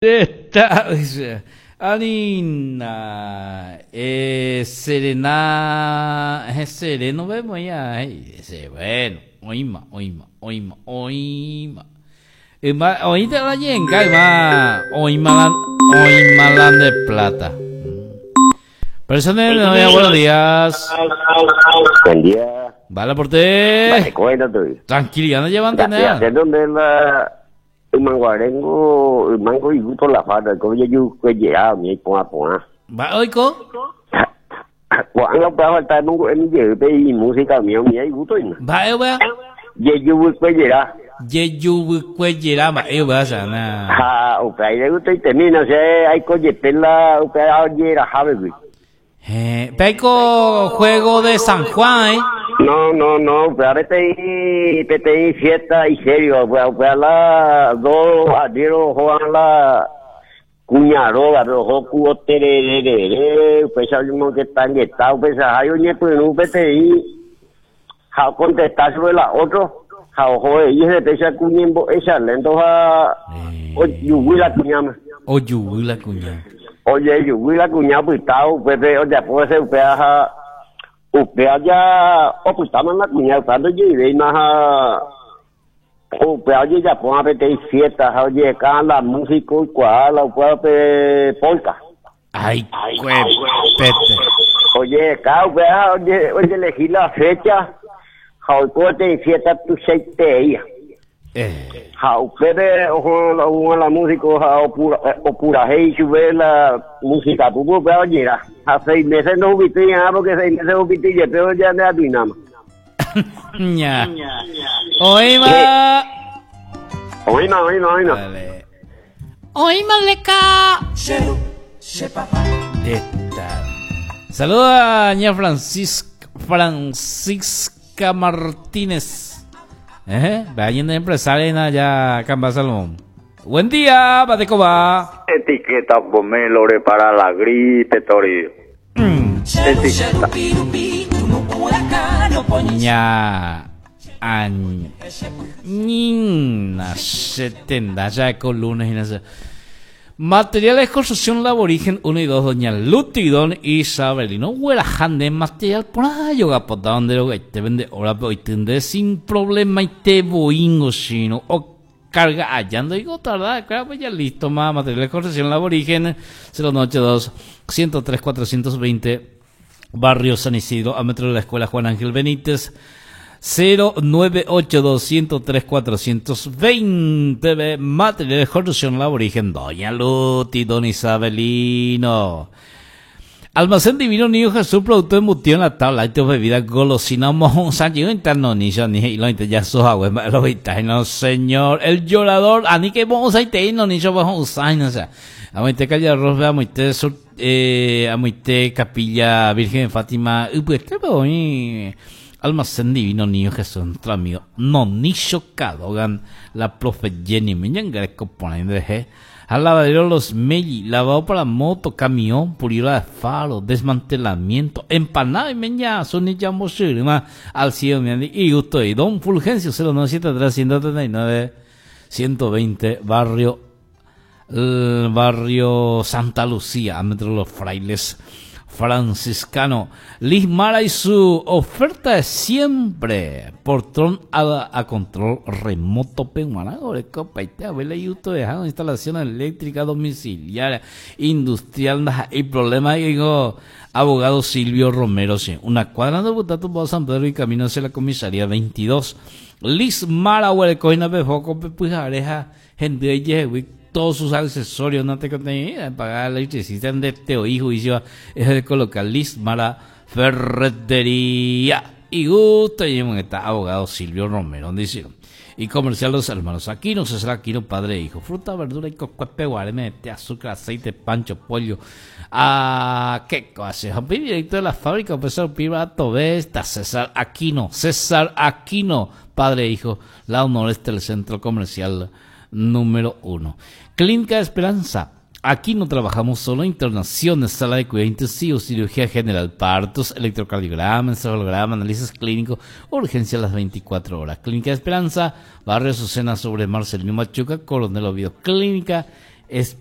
Esta, dice, Anina, eh, serena, eh, sereno vemos ya, eh, dice, bueno, oíma, oíma, oíma, oíma. Yma, oíste la yenga, yma, oíma la, oíma la de plata. Personal, buenos días. Buen día. Vale por te. Vale, cuéntate. Tranquilidad, no llevan Ya, tener. ya, ¿dónde la ymanguaréngo, ymango igusto la farra, ko jejukuejera umi iporã porã. Mba'e oiko? Ko'ág̃a upéva falta emongu'emi jey pe imúsika umi umi igusto hína. Mba'e upéva? Jejuvykuejera. Jejuvykuejera mba'e upéva chana. Ha upéva igustoitemína, che aiko jepe la upéva ojeraha vegui. Héẽ, peiko juego de San Juan, eh? No, no, no, upéva peteĩ, peteĩ fiesta isériova, upéva, upéva la dos arriero ohóva la kuña rógape, oho ku oterererere, upéicha oñemongetangeta, upeichahágui oñepyrũ peteĩ ha okontesta chupe la otro, ha oho he'i hese péicha ku ñembo'e lento ha ojuguy la kuñáme. Ojuguy la kuña. Ojejuguy la kuña opytávo upépe ojapo hese upéva ha upéva ja opytáma la kuña upéva ndojeivéima ha upéva ojejapóma peteĩ fiesta ha ojeheka la músico oikuaa la upéva pe polka. Ay, kuepete. Ojeheka upéva ha oje, ojelegi la fecha ha oiko peteĩ fiesta tuichaiteeía. Eh. Ha upépe oho oho la músico ha opura, opurahéi chupe la música pupu upéva ojera. Ha seis meses ndohupitýi'arã porque seis meses ohupity jepe ojeandeatuináma. Ña. Oĩma. Oĩma, oĩma, oĩma. Dale. Oĩma leka. Esta. Saluda a ña Francisca, Francisca Martínez. Eh, vayan de empresaria ya Camba Salomón. Buen día, Batecoba. Etiqueta pomelore para la gripe, Torío. Etiqueta. Ña añ ñina setenta ya con lunes y no sé. Materiales de construcción Laborigen 1 y 2, Doña Luti, Don Isabelino, Huerajande, material por ahí, yoga pota, donde lo que te vende ahora, pero hoy tendré sin problema y te boingo, sino, o carga allá, ando digo, tarda, claro, pues ya listo, más materiales de construcción Laborigen, 092 103 420, Barrio San Isidro, a metro de la Escuela Juan Ángel Benítez, 0982 103 420 Materiales de construcción Laborigen, Doña Luti, Don Isabelino. Almacén Divino Niño Jesús, producto embutido en la tabla, y bebida golosina, mojón, san, interno, ni yo, ni lo ya soja, güey, lo no, señor, el llorador, ani que vamos a ir, no, ni yo, vamos a no, o sea, amoite calle arroz, amoite sur, amoite capilla Virgen de Fátima, y pues, ¿qué puedo ir? Almacén Divino Niño Jesús, nuestro amigo, no, ni Cadogan, la profe Jenny, me poniendo de al lavadero Los Melli, lavado para moto, camión, pulidura de faro, desmantelamiento, empanada y meña, sonilla moshirima, al cielo, y gusto y Don Fulgencio, 0973 139 120, barrio, el barrio Santa Lucía, metro Los Frailes Franciscano. Liz Mara y su oferta es siempre portón a control remoto peguanago de copa y te abuela y uto dejando instalación eléctrica domiciliaria industrial y problema digo abogado Silvio Romero, sí. Una cuadra de Butato por San Pedro y camino hacia la comisaría 22. Liz Mara huele coina pefoco pepujareja gente de todos sus accesorios, no te contenía pagar electricista de teo hijo y yo es de colocar Liz Mara Ferretería y gusto y está abogado Silvio Romero dice y comercial Los Hermanos Aquino, César Aquino, padre e hijo, fruta, verdura y cocuepe, guareme, té, azúcar, aceite, pancho, pollo, ah, qué cosa, directo de la fábrica, pues piba, está César Aquino, César Aquino, padre e hijo, lado noreste del centro comercial número 1. Clínica Esperanza. Aquí no trabajamos solo internaciones, sala de cuidado intensivo, cirugía general, partos, electrocardiograma, encefalograma, análisis clínico, urgencia a las 24 horas. Clínica Esperanza, Barrio Azucena sobre Marcelino Machuca, Coronel Oviedo. Clínica Esperanza.